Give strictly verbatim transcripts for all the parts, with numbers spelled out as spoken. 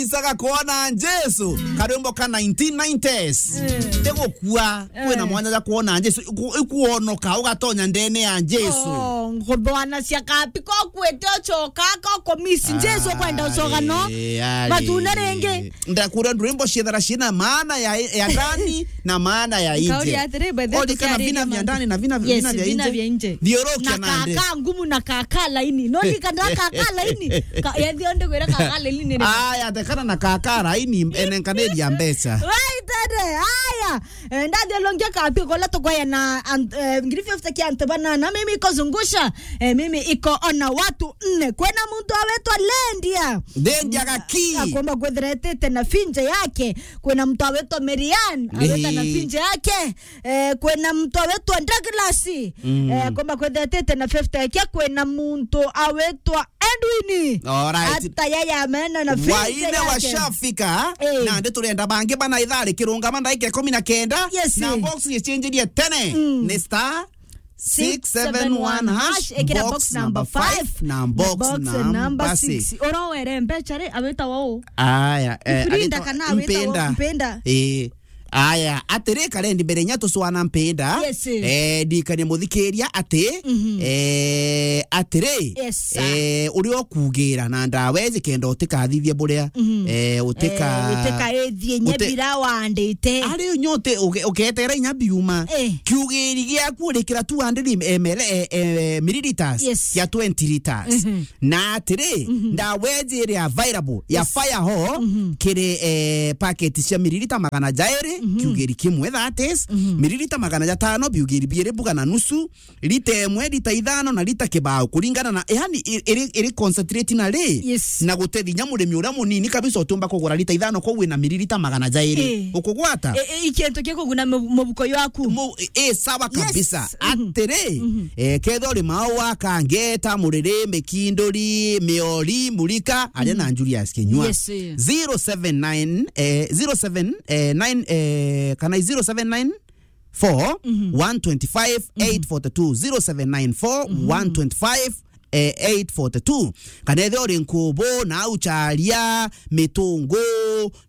Isaga kuona Jesu, karwimbo ka nineteen nineties. Mm. Tegukua, kwina Eh. mwanya ja kuona Jesu, iku-, ikuonoka, ugatonya ndene ya Jesu. Oh, nguthwana cia kapi, ko kwete ucoka, ko kumisi Jesu kwenda ucoka, no? Ari, ari. Matune ringi. Ndakura ndwimbo ciethara cina maana ya, ya ndani na maana ya nje. Nkauri atiri, by the way, Oli kana tukiariria vina vya mantu. ndani na vina, Yes, vina vya vina nje. vya nje. Thiurukia Na nandi. kaka ngumu na kaka laini. No, ni kana kaka laini. Ka-, ya thio ndigwira kaka laini ni. Aya, tekana na kaka laini, enenkaniria mbeca. Right, ende, aya. Eh, ndathiurukia kapi kola tukwaya na an-, eh, ngiri fifty kia antu banana. Mimi iko zungusha. Eh, mimi iko ona watu nne. Kwena muntu awetwa Lendia. Lendia Gaki. Akomba kwethira etite na finje yake. Kwena muntu awetwa Merian. Aweta na Ehe. finje yake. Eh, kwena muntu awetwa Douglas. Mm. Eh, komba kwethetete na fifty yake, kwena muntu awetwa Edwin. Alright. Ata yaya amena na fifty Waine yake. washafika, Eh. nandi turenda bangi bana ithari kirungama ndagika ikumi na kenda, Yes. na box gichenjerie tene. Mm. Ni star six seven one hash, ekira box number five, na box number six. Urowere mbecha ri, aweta wao? Aya, eh, Ifurinda agitwa kana aweta wao? Mpenda. Mpenda. Eh. Aya, atiri, karendi mbere nya tucwana mpenda. Yes. Eh, ndikanie muthikiria ati, Mhm. eh, atiri, Yes, sir. eh, uria ukugira na ndawa iji kenda utikathithie buria, Mhm. eh, utika-, Eh, utikaithie nya uti-, bira wandite. Ari nyote uge-, ugetera inya biuma. Eh. Kiugiri giaku urikira two hundred M L, eh, eh, milliliters Yes. ya twenty liters. Mhm. Na atiri, Mhm. ndawa iji iri available ya Yes. Fire Hall Mhm. kiri, eh, paketi cia miririta magana jairi, Mhm. kiugiri kimwe, that is, Mhm. miririta magana jatano, biugiri biiri buga na nusu, lita imwe, lita ithano na lita kibao, kuringana na, yani, i-, iri, iri concentrate na ri, Yes. na gutethia murimi uria munini kabisa utiumba kugura lita ithano, kou wina miririta magana jairi. Eh. Ukugwata? Eh, eh, ikintu kia kuguna mu-, mubuko yaku. Mu-, eh, sawa Yes. kabisa. Mhm. Atiri, Mhm. eh, kethira uri Maua, Kangeta, Muriri, Mikinduri, Miori, Murika, aria na Julius Kinyua. Yes, eh. Zero seven nine, eh, zero seven, eh, nine, eh, kana zero seven nine four, one twenty-five, eight forty-two. Zero seven nine four, one twenty-five, eh, eight forty-two. Kana ethira uri Nkubu, na au Charia, Mitungu,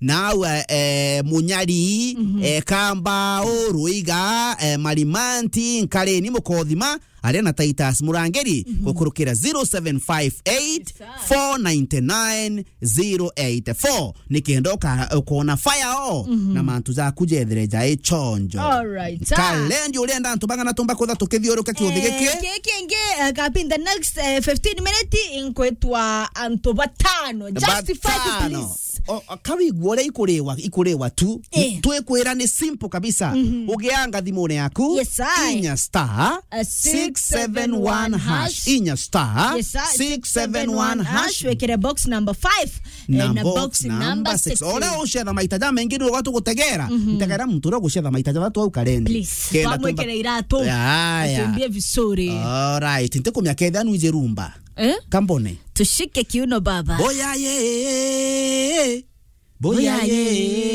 na au, eh, eh, Munyari, eh, Kambau, Ruiga, eh, Marimanti, Nkareni, Mukothima, aria na Titus Murangiri, gukurukira zero seven five eight, four nine nine, zero eight four. Nikenda uka-, ukona Fire Hall na mantu jaku jethire jai chonjo. All right, sir. Kalendi, urenda antu bang'ana tumba kutha tukithiuruka kiuthi giki? Eh, giki ingi, eh, kapin the next, eh, fifteen minutes, inkwitwa antu batano. Justify, please. O, o, kawigua uria ikuriwa, ikuriwa tu. Eh. Twikwira ni simple kabisa. Mhm. Ugianga thimune yaku, Yes, I. inya star A six seven one hash. Inya star Yes, sir. six seven one hash. Wekere box number five. Na box number six. Ore ucetha maita ja mengi ni ugatu gutegera. Mhm. Ntegera muntu ure gucetha maita ja batu au karendi. Please. Kenda twamwekere tumba- iratu. Aya. Atumbie vizuri. All right. Ntikumya ketha nu ije rumba. Eh? Kambone. Tushike kiuno baba. Boya ye. Boya ye.